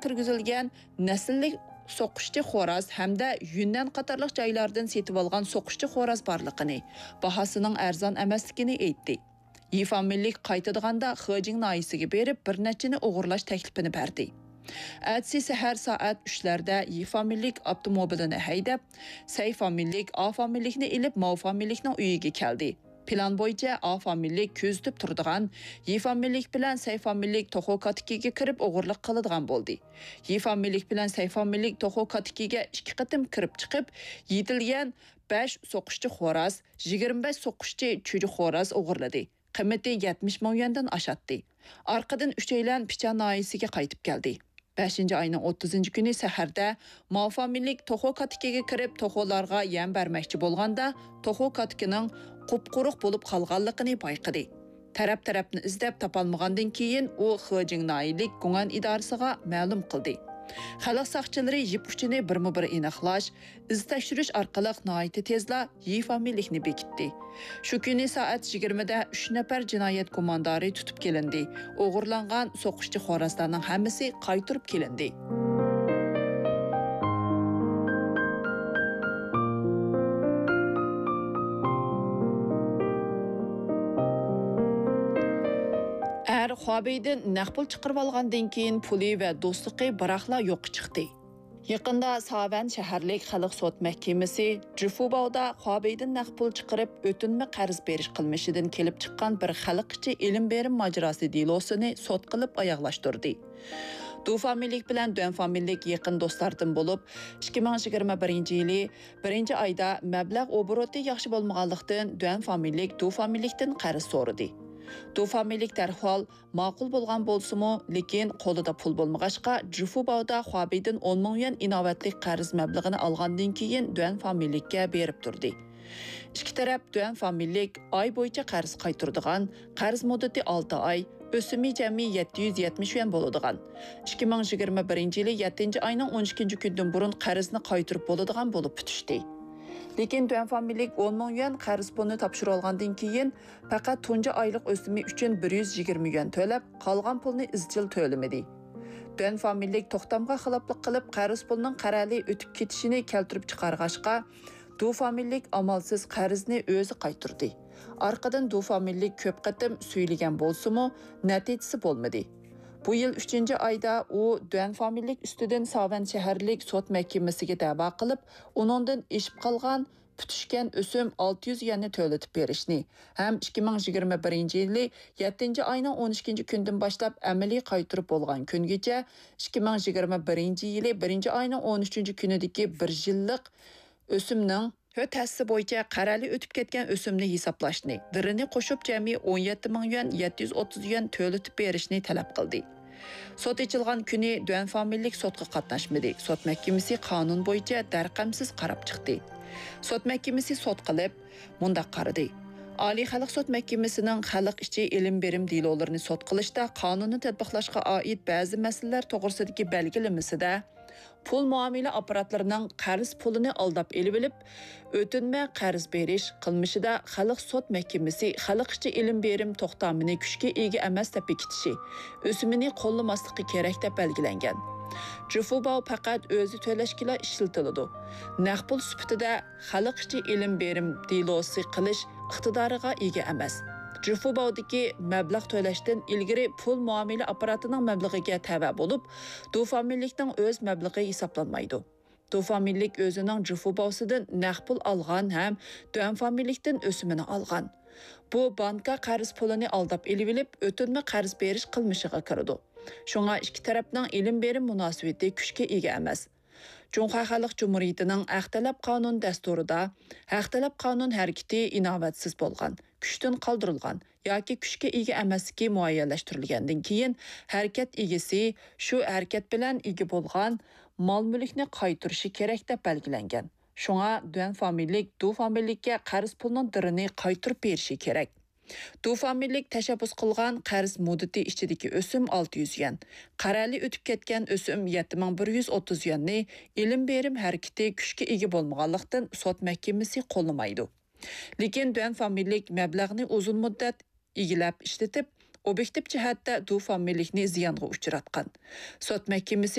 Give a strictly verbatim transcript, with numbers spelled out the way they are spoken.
كىرگۈزۈلگەن نەسىللىك سوقۇشچى خوراز ھەمدە يۈننەن قاتارلىق جايلاردىن سېتىۋالغان سوقۇشچى خوراز بارلىقىنى، باھاسىنىڭ ئەرزان ئەمەسلىكىنى ئېيتتى. يى فامىلىلىك قايتىدىغاندا خېجىڭ ناھىيەسىگە بېرىپ، بىر نەچچىنى ئوغرىلاش تەكلىپىنى بەردى. ئەتىسى سەھەر سائەت ئۈچلەردە يى فامىلىلىك ئاپتوموبىلىنى ھەيدەپ، سەي فامىلىلىك، ئا فامىلىلىكنى ئېلىپ، ماۋ فامىلىلىكنىڭ ئۆيىگە كەلدى. پىلان بويىچە ئا فامىلىلىك كۆزىتىپ تۇرىدىغان، يى فامىلىلىك بىلەن سەي فامىلىلىك توخۇ كاتىكىگە كىرىپ ئوغرىلىق قىلىدىغان بولدى. يى فامىلىلىك بىلەن سەي فامىلىلىك توخۇ كاتىكىگە ئىككى قېتىم كىرىپ چىقىپ، يېتىلگەن بەش سوقۇشچى خوراز، يىگىرمە بەش سوقۇشچى چۈجە خوراز ئوغرىلىدى. قىممىتى يەتمىش مىڭ يۈەندىن ئاشاتتى. ئارقىدىن ئۈچەيلەن پىچان ناھىيەسىگە قايتىپ كەلدى. بەشىنچى ئاينىڭ ئوتتۇزىنچى كۈنى سەھەردە ماۋ فامىلىلىك توخۇ كاتىكىگە كىرىپ، توخۇلارغا يەم بەرمەكچى بولغاندا، توخۇ كاتىكىنىڭ قۇپقۇرۇق بولۇپ قالغانلىقىنى بايقىدى. تەرەپ-تەرەپنى ئىزدەپ تاپالمىغاندىن كېيىن، ئۇ خېجىڭ ناھىيەلىك گۇڭئەن ئىدارىسىغا مەلۇم قىلدى. خەلق ساقچىلىرى يىپ ئۇچىنى بىرمۇ بىر ئېنىقلاش، ئىز تەكشۈرۈش ئارقىلىق ناھايىتى تېزلا يى فامىلىلىكنى بېكىتتى. شۇ كۈنى سائەت يىگىرمىدە ئۈچ نەپەر جىنايەت گۇماندارى تۇتۇپ كېلىندى. ئوغرىلانغان سوقۇشچى خورازلارنىڭ ھەممىسى قايتۇرۇپ كېلىندى. ئەر خۇابېيدىن نەق پۇل چىقىرىۋالغاندىن كېيىن، پۇلى ۋە دوستلۇقى بىراقلا يوققا چىقتى. يېقىندا ساۋەن شەھەرلىك خەلق سوت مەھكىمىسى جىفۇباۋدا خۇابېيدىن نەق پۇل چىقىرىپ، ئۆتۈنمە قەرز بېرىش قىلمىشىدىن كېلىپ چىققان بىر خەلق ئىچى ئېلىم بېرىم ماجىراسى دېلوسىنى سوت قىلىپ ئاياغلاشتۇردى. دۇ فامىلىلىك بىلەن دۈەن فامىلىلىك يېقىن دوستلاردىن بولۇپ، ئىككى مىڭ يىگىرمە بىرىنچى يىلى بىرىنچى ئايدا مەبلەغ ئوبوروتى ياخشى بولمىغانلىقتىن، دۈەن فامىلىلىك دۇ فامىلىلىكتىن قەرز سورىدى. دۇ فامىلىلىك دەرھال ماقۇل بولغان بولسىمۇ، لېكىن قولىدا پۇل بولمىغاچقا، جىفۇباۋدا خۇابېيدىن ئون مىڭ يۈەن ئىناۋەتلىك قەرز مەبلىغىنى ئالغاندىن كېيىن دۈەن فامىلىلىككە بېرىپ تۇردى. ئىككى تەرەپ دۈەن فامىلىلىك ئاي بويىچە قەرز قايتۇرىدىغان، قەرز مۇددىتى ئالتە ئاي، ئۆسۈمى جەمئىي يەتتە يۈز يەتمىش يۈەن بولىدىغان، ئىككى مىڭ يىگىرمە بىرىنچى يىلى يەتتىنچى ئاينىڭ ئون ئىككىنچى كۈنىدىن بۇرۇن قەرزنى قايتۇرۇپ بولىدىغان بولۇپ پۈتۈشتى. لېكىن دۈەن فامىلىلىك ئون مىڭ يۈەن قەرز پۇلىنى تاپشۇرۇۋالغاندىن كېيىن، پەقەت تۇنجى ئايلىق ئۆسۈمى ئۈچۈن بىر يۈز يىگىرمە يۈەن تۆلەپ، قالغان پۇلنى ئىزچىل تۆلىمىدى. دۈەن فامىلىلىك توختامغا خىلاپلىق قىلىپ، قەرز پۇلنىڭ قەرەلى ئۆتۈپ كېتىشىنى كەلتۈرۈپ چىقارغاچقا، دۇ فامىلىلىك ئامالسىز قەرزنى ئۆزى قايتۇردى. ئارقىدىن دۇ فامىلىلىك كۆپ قېتىم سۈيلىگەن بولسىمۇ، نەتىجىسى بولمىدى. بۇ يىل ئۈچىنچى ئايدا ئۇ دۈەن فامىلىلىك ئۈستىدىن ساۋەن شەھەرلىك سوت مەھكىمىسىگە دەۋا قىلىپ، ئۇنىڭدىن ئېشىپ قالغان پۈتۈشكەن ئۆسۈم ئالتە يۈز يۈەننى تۆلىتىپ بېرىشنى ھەم ئىككى مىڭ يىگىرمە بىرىنچى يىلى يەتتىنچى ئاينىڭ ئون ئىككىنچى كۈنىدىن باشلاپ ئەمەلىي قايتۇرۇپ بولغان كۈنگىچە ئىككى مىڭ يىگىرمە بىرىنچى يىلى بىرىنچى ئاينىڭ ئون ئۈچىنچى كۈنىدىكى بىر يىللىق ئۆسۈمنىڭ ھۆت ھەسسە بويىچە قەرەلى ئۆتۈپ كەتكەن ئۆسۈمنى ھېسابلاشنى، دىرىنى قوشۇپ جەمئىي ئون يەتتە مىڭ يۈەن يەتتە يۈز ئوتتۇز يۈەن تۆلىتىپ بېرىشنى تەلەپ قىلدى. سوت ئېچىلغان كۈنى دۈەن فامىلىلىك سوتقا قاتناشمىدى. سوت مەھكىمىسى قانۇن بويىچە دەرقەمسىز قاراپ چىقتى. سوت مەھكىمىسى سوت قىلىپ، مۇنداق قارىدى: ئالىي خەلق سوت مەھكىمىسىنىڭ خەلق ئىچى ئېلىم بېرىم دېلولىرىنى سوت قىلىشتا قانۇننى تەتبىقلاشقا ئائىت بەزى مەسىلىلەر توغرىسىدىكى بەلگىلىمىسىدە، پۇل مۇئامىلە ئاپپاراتلىرىنىڭ قەرز پۇلىنى ئالداپ ئېلىۋېلىپ، ئۆتۈنمە قەرز بېرىش قىلمىشىدا خەلق سوت مەھكىمىسى خەلق ئىچى ئېلىم بېرىم توختامىنى كۈچكە ئىگە ئەمەس دەپ بېكىتىشى، ئۆسۈمىنى قوللىماسلىقى كېرەك دەپ بەلگىلەنگەن. جىفۇباۋ پەقەت ئۆزى تۆلەشكىلا ئىشلىتىلىدۇ. نەق پۇل سۈپىتىدە خەلق ئىچى ئېلىم بېرىم دېلوسى قىلىش ئىقتىدارىغا ئىگە ئەمەس. جىفۇباۋدىكى مەبلەغ تۆلەشتىن ئىلگىرى پۇل مۇئامىلە ئاپپاراتىنىڭ مەبلىغىگە تەۋە بولۇپ، دۇ فامىلىلىكنىڭ ئۆز مەبلىغى ھېسابلانمايدۇ. دۇ فامىلىلىك ئۆزىنىڭ جىفۇباۋسىدىن نەق پۇل ئالغان ھەم دۈەن فامىلىلىكتىن ئۆسۈمىنى ئالغان. بۇ بانكا قەرز پۇلىنى ئالداپ ئېلىۋېلىپ، ئۆتۈنمە قەرز بېرىش قىلمىشىغا كىرىدۇ. شۇڭا ئىككى تەرەپنىڭ ئېلىم بېرىم مۇناسىۋىتى كۈچكە ئىگە ئەمەس. جۇڭخۇا خەلق جۇمھۇرىيىتىنىڭ ھەق تەلەپ قانۇن دەستۇرىدا، ھەق تەلەپ قانۇن ھەرىكىتى ئىناۋەتسىز بولغان، كۈچتىن قالدۇرۇلغان ياكى كۈچكە ئىگە ئەمەسلىكى مۇئەييەنلەشتۈرۈلگەندىن كېيىن، ھەرىكەت ئىگىسى شۇ ھەرىكەت بىلەن ئىگە بولغان مال-مۈلۈكنى قايتۇرۇشى كېرەك دەپ بەلگىلەنگەن. شۇڭا دۈەن فامىلىلىك دۇ فامىلىلىككە قەرز پۇلنىڭ دىرىنى قايتۇرۇپ بېرىشى كېرەك. دۇ فامىلىلىك تەشەببۇس قىلغان قەرز مۇددىتى ئىچىدىكى ئۆسۈم ئالتە يۈز يۈەن، قەرەلى ئۆتۈپ كەتكەن ئۆسۈم يەتتە مىڭ بىر يۈز ئوتتۇز يۈەننى ئېلىم بېرىم ھەرىكىتى كۈچكە ئىگە بولمىغانلىقتىن، سوت مەھكىمىسى قوللىمايدۇ. لېكىن دۈەن فامىلىلىك مەبلەغنى ئۇزۇن مۇددەت ئىگىلەپ ئىشلىتىپ، ئوبيېكتىپ جەھەتتە دۇ فامىلىلىكنى زىيانغا ئۇچراتقان. سوت مەھكىمىسى